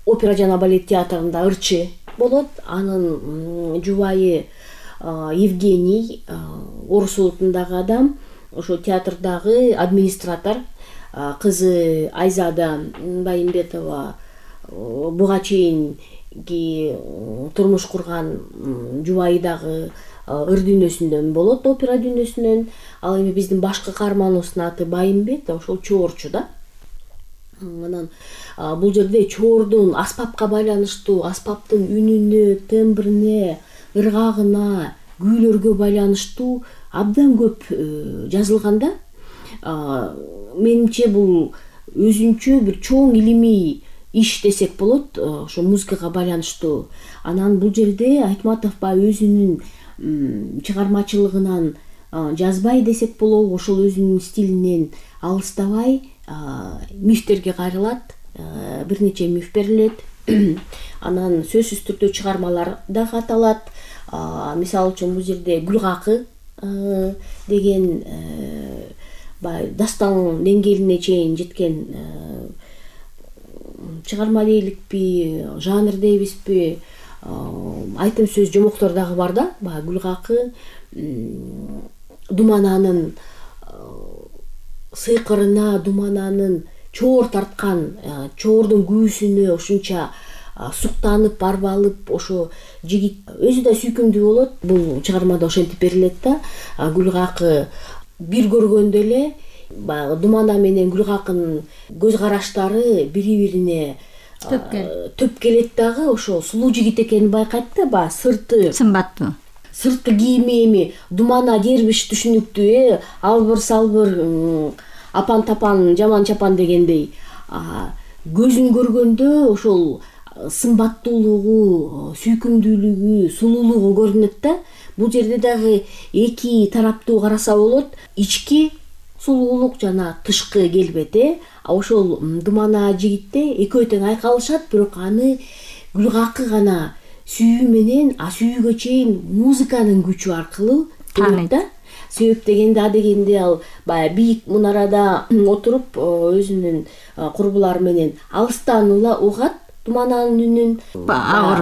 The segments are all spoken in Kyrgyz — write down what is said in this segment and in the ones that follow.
опера жана балет театрында ырчы болот. Анын жубайы Евгений Орус улутундагы адам, ошо театрдагы администратор. Кызы Айзада Байымбетова буга чейинки турмуш курган жубайы дагы ыр дүйнөсүндөн болот, опера дүйнөсүнөн. Ал эми биздин башкы каарманыбыздын аты Байымбет, ошол чоорчу да. Анан бул жерде чоордун аспапка байланыштуу, аспаптын үнүнө, тембрине, ыргагына, күүлөргө байланыштуу абдан көп жазылган да. Менимче бул өзүнчө бир чоң илимий иш десек болот, ошо музыкага байланыштуу. Анан бул жерде Айтматов баягы өзүнүн чыгармачылыгынан жазбай десек болобу, ошол өзүнүн стилинен алыстабай мифтерге кайрылат. Бир нече миф берилет. Анан сөзсүз түрдө чыгармалар да каталат. Мисалы үчүн бул жерде Гүлгакы деген баягы дастан деңгээлине чейин жеткен чыгарма дейликпи, жанр дейбизби, айтым сөз жомоктор дагы бар да. Баягы Гүлгакы Думананын сыйкырына, Думананын чоор тарткан, чоордун күүсүнө ушунча суктанып, арбалып, ошо жигит өзү да сүйкүмдүү болот. Бул чыгармада ошентип берилет да. Гүлгакы бир көргөндө эле баягы Думана менен Гүлгакынын көз караштары бири-бирине төп келет дагы. Ошо сулуу жигит экенин байкайт да. Баягы сырты сымбаттуу, сырты кийими эми Думана дербиш түшүнүктүү, албыр салбыр, апан тапан, жаман чапан дегендей. Көзүн көргөндө ошол сымбаттуулугу, сүйкүмдүүлүгү, сулуулугу көрүнөт да. Бул жерде дагы эки тараптуу караса болот. Ички сулуулук жана тышкы келбети. Ошол Думана жигитте экөө тең айкалышат, бирок аны Гүлгакы гана сүйүү менен, сүйүүгө чейин музыканын күчү аркылуу көрөт да. Себеп дегенде ал баягы бийик мунарада отуруп өзүнүн курбулары менен алыстан угат Думананын үнүн,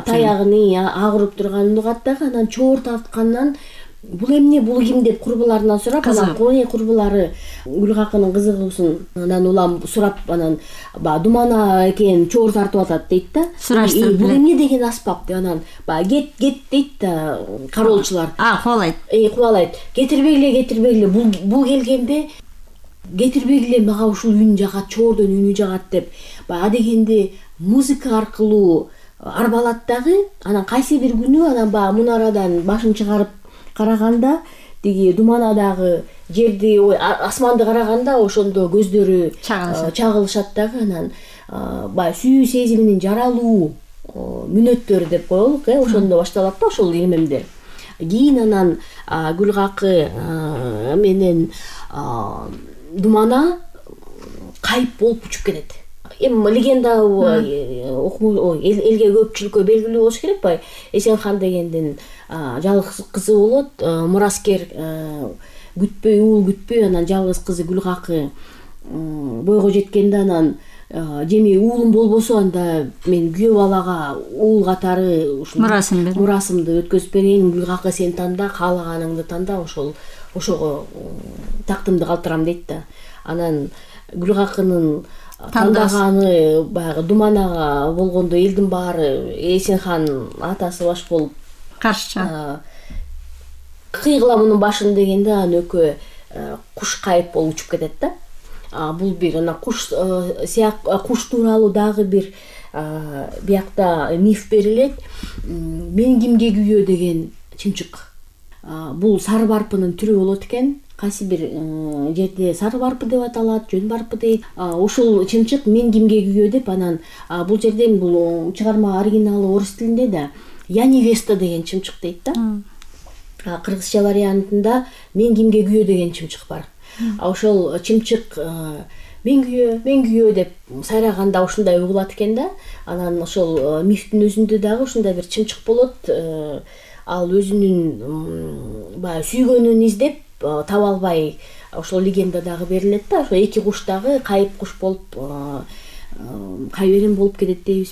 таягынын агырып турганын угат дагы. Анан чоор тарткандан бул эмне, бул ким деп курбуларынан сурап, анан курбулары Гүлгакынын кызыгуусун анан улам сурап, анан баягы Думана экен чоор тартып атат дейт да. Сураштырып, бул эмне деген аспап деп анан баягы кет дейт да кароолчулар. Кубалайт. Кетирбегиле, бул келгенде кетирбегиле, мага ушул үн жагат, чоордун үнү жагат деп баягы дегенде музыка аркылуу арбалат дагы. Анан кайсы бир күнү анан баягы мунарадан башын чыгарып караганда, тиги Думанадагы жерди, асманды караганда ошондо көздөрү чагылышат дагы. Анан баягы сүйүү сезиминин жаралуу мүнөттөрү деп коелук, ошондо башталат да ошол эмемдер. Кийин анан Гүлгакы менен Думана кайып болуп учуп кетет. Эми легенда элге көпчүлүккө белгилүү болуш керек. Баягы Эсенхан дегендин жалгыз кызы болот, мураскер, уул күтпөй, анан жалгыз кызы Гүлгакы бойго жеткенде анан жеми уулум болбосо анда мен күйөө балага уул катары мурасымды өткөзүп берейин, Гүлгакы сен танда, каалаганыңды танда, ошого тактымды калтырам дейт да. Анан Гүлгакынын тандаганы баягы Думанага болгондо элдин баары Эсенхан атасы баш болуп каршы кыйгыла мунун башын дегенде анан экөө куш кайып болуп учуп кетет да. Бул бир анан куш тууралуу дагы бир биякта миф берилет. Мен кимге күйөө деген чымчык. Бул сары барпынын түрү болот экен. Кайсы бир жерде сары барпы деп аталат, жөн барпы дейт. Ошол чымчык мен кимге күйөө деп, анан бул жерде бул чыгарма оригиналы орус тилинде да Я невеста деген чымчык дейт да. Кыргызча вариантында мен кимге күйөө деген чымчык бар. Ошол чымчык мен күйөө деп сайраганда ушундай угулат экен да. Анан ошол мифтин өзүндө дагы ушундай бир чымчык болот. Ал өзүнүн баягы сүйгөнүн издеп таба албай, ошол легенда дагы берилет да. Ошо эки куш дагы кайып куш болуп, кайберен болуп кетет дейбиз.